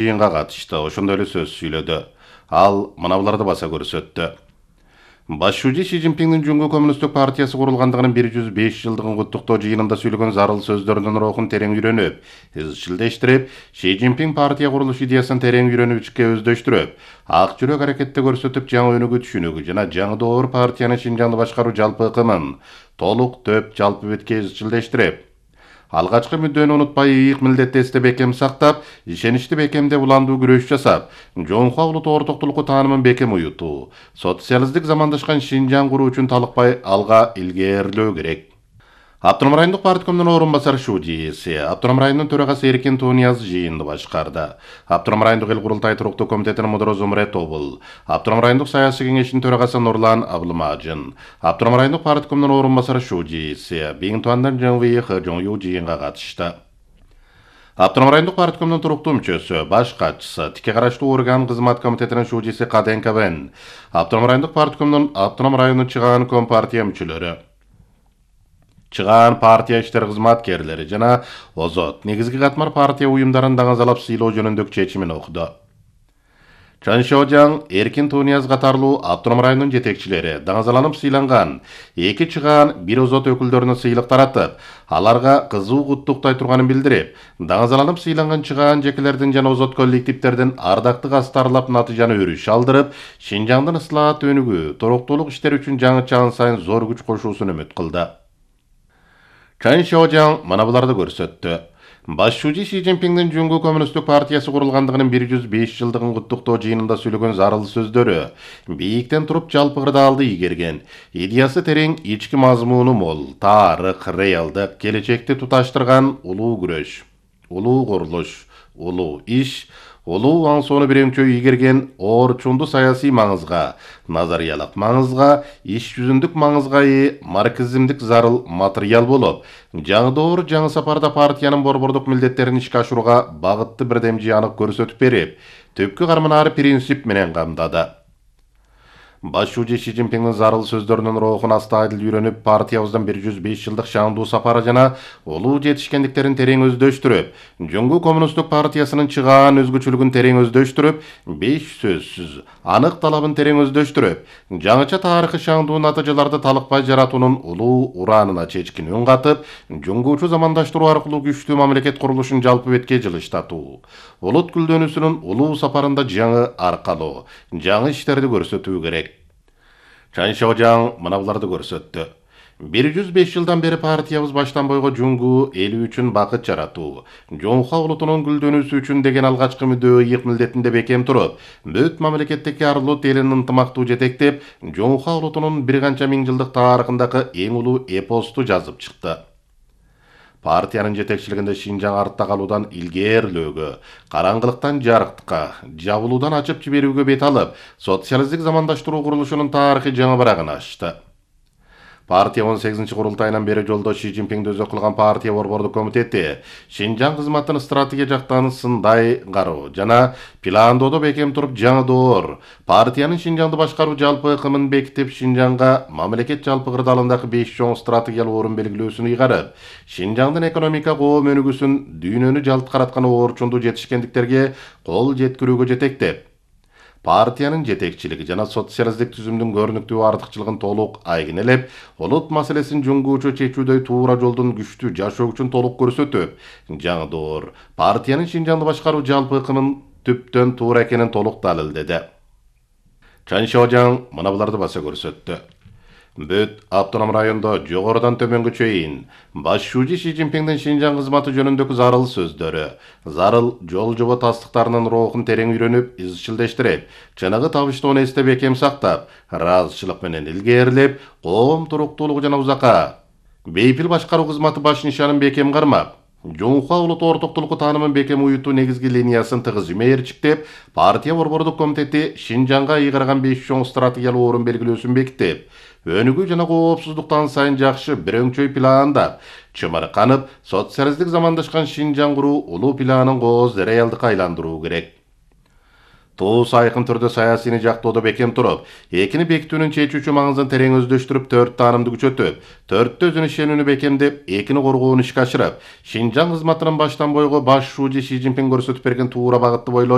жыйынга катышты, ошондой эле сөз сүйлөдү. Ал мына буларды баса көрсөттү. Башчы Си Цзиньпиндин Жуңгу Коммунисттик партиясы курулгандыгынын 105 жылдыгын куттуктоо жыйынында сүйлөгөн зарыл сөздөрүнүн рухун терең үйрөнүп, изчилдештирип, Си Цзиньпин партия курулуш идеясын терең үйрөнүп ичке өздөштүрүп, ак жүрөк аракетте көрсөтүп, жаңы өнүгүү түшүнүгү жана жаңы доор партиянын Шинжаңды башкаруу жалпы ыкымын толук төп жалпы бетке изчилдештирип, алгачкы мүддөнү унутпай, ийик милдетти эсте бекем сактап, ишеничти бекемде уландуу күрөш жасап, жоңхуа улуттуу ортоктулукку таанымын бекем уютуу, социалисттик замандашкан Шинжаң куруу үчүн талыкпай алга илгээрлөө керек. Автоном райондук парткомдун орун басары Шужиси, Автоном районунун төрагасы Эркин Тунияз жыйынды башкарды. Автоном райондук эл курултай туруктуу комитетинин мудуру Зумрет Тобул, Автоном райондук саясий кеңешинин төрагасы Нурлан Абылмажын, Автоном райондук парткомдун орун басары Шужиси, Биңтуандан Жыңвый Хыжоңю жыйынга катышты. Автоном райондук парткомдун туруктуу мүчөсү, баш катчысы, тикке караштуу орган кызмат комитетинин Шужиси Каденка Бен, Автоном райондук парткомдун Автоном районунун чыгаан компартия мүчөлөрү, чыгаан партия иштер кызматкерлери жана озот негизги катмар партия уюмдарын даңазалап сыйлоо жөнүндөгү чечимин окуду. Чан Шожаң, Эркин Тунияз катарлуу Автоном районунун жетекчилери даңазаланып сыйланган эки чыгаан бир озот өкүлдөрүнө сыйлык таратып, аларга кызуу куттуктай турганын билдирип, даңазаланып сыйланган чыгаан жекелердин жана озот коллективдердин ардактык астарлап натыйжаны өрүш алдырып, Шинжаңдын ыслаат өнүгүү, туруктуулук иштери үчүн жаңы чаан сайын зор күч кошуусун үмүт кылды. Чан Шожаң мына буларды көрсөттү. Башчы Си Цзиньпиндин Жуңгу Коммунисттик партиясы курулгандыгынын 105 жылдыгын куттуктоо жыйынында сүйлөгөн зарыл сөздөрү бийиктен туруп жалпы кырдаалды ийгерген, идеясы терең, ички мазмуну мол, тарых, реалдык, келечекти туташтырган улуу күрөш, улуу курулуш, улуу иш, улуу аңсоону бирөмчө ийгерген орчунду саясий маңызга, назариялык маңызга, иш жүзүндүк маңызга марксизмдик зарыл материал болуп, жаңы доор, жаңы сапарда партиянын борбордук милдеттерин ишке ашырууга багытты бирдемчи анык көрсөтүп берип, түпкү карманары принцип менен камдады. Башчы Си Цзиньпиндин зарыл сөздөрүнүн рухун астайдыл үйрөнүп, партиябыздын 105 жылдык шаандуу сапары жана улуу жетишкендиктерин терең өздөштүрүп, Жуңгу Коммунисттик партиясынын чыгаан өзгөчөлүгүн терең өздөштүрүп, 5 сөзсүз анык талабын терең өздөштүрүп, жаңыча тарыхый шаандуу натыйжаларды талыкпай жаратуунун улуу ураанына чечкин үн катып, жуңгуучу замандаштыруу аркылуу күчтүү мамлекет курулушун жалпы бетке жылыштатуу, улут гүлдөнүүсүнүн улуу сапарында жаңы аркалоо, жаңы иштерди көрсөтүү керек. Чан Шожаң мына буларды көрсөттү. 105 жылдан бери партиябыз баштан бойго Жуңгу эли үчүн бакыт жаратуу, жоңхуа улутунун гүлдөнүүсү үчүн деген алгачкы мүдөө ийик милдетинде бекем туруп, бүт мамлекеттеги арлут элин ынтымактуу жетектеп, жоңхуа улутунун бир канча миң жылдык тарыхындагы эң улуу эпосту жазып чыкты. Партиянын жетекчилигинде Шинжаң артта калуудан илгээрлөөгө, караңгылыктан жарыктыкка, жабылуудан ачып жиберүүгө бет алып, социалисттик замандаштыруу курулушунун тарыхый жаңы барагын ачты. Партия 18 курултайынан бери жолдош Си Цзиньпинди өзөк кылган партия борбордук комитети Шинжаң кызматын стратегия жактан сындай кароо жана пландоодо бекем туруп, жаңы доор партиянын Шинжаңды башкаруу жалпы ыкымын бекитип, Шинжаңга мамлекет жалпы кырдаалындагы 5 чоң стратегиялык орун белгилөөсүн ыйгарып, Шинжаңдын экономика коом өнүгүүсүн дүйнөнү жалт караткан орчундуу жетишкендиктерге кол жеткирүүгө жетектеп, партиянын жетекчилиги жана социалисттик түзүмдүн көрүнүктүү артыкчылыгын толук айгинелеп, улут маселесин жуңгуучу чечүүдөй туура жолдун күчтүү жашоо үчүн толук көрсөтүп, жаңы доор партиянын Шинжаңды башкаруу жалпы ыкымын түптөн туура экенин толук далилдеди. Чан Шожаң мына буларды баса көрсөттү. Бүт автоном райондо жогорудан төмөнгө чейин башчы Си Цзиньпиндин Шинжаң кызматы жөнүндөгү зарыл сөздөрү, зарыл жол жобо тастыктарынын рухун терең үйрөнүп, изчилдештирип, чыныгы табыштоону эсте бекем сактап, ыраазычылык менен илгээрлеп, коом туруктуулугу жана узакка бейпил башкаруу кызматы баш нишанын бекем кармап, жоңхуа улуттуу ортоктулукку таанымын бекем уютуу негизги линиясын тыгыз мерчиктеп, партия борбордук комитети Шинжаңга ыйгарган 5 чоң стратегиялык орун белгилөөсүн бекитип, өнүгүү жана коопсуздуктан сайын жакшы бирөңчөй пландап, чымырканып, социалисттик замандашкан Шинжаң куруу улуу планын кооз реалдыкка айландыруу керек. Туус айкын түрдө саясийни жактоодо бекем туруп, экини бекитүүнүн чечүүчү маңызын терең өздөштүрүп, 4 таанымды күчөтүп, 4 өзүн ишенүүнү бекемдеп, экини коргоону ишке ашырып, Шинжаң кызматынын баштан бойго башчы Си Цзиньпин көрсөтүп берген туура багытты бойлой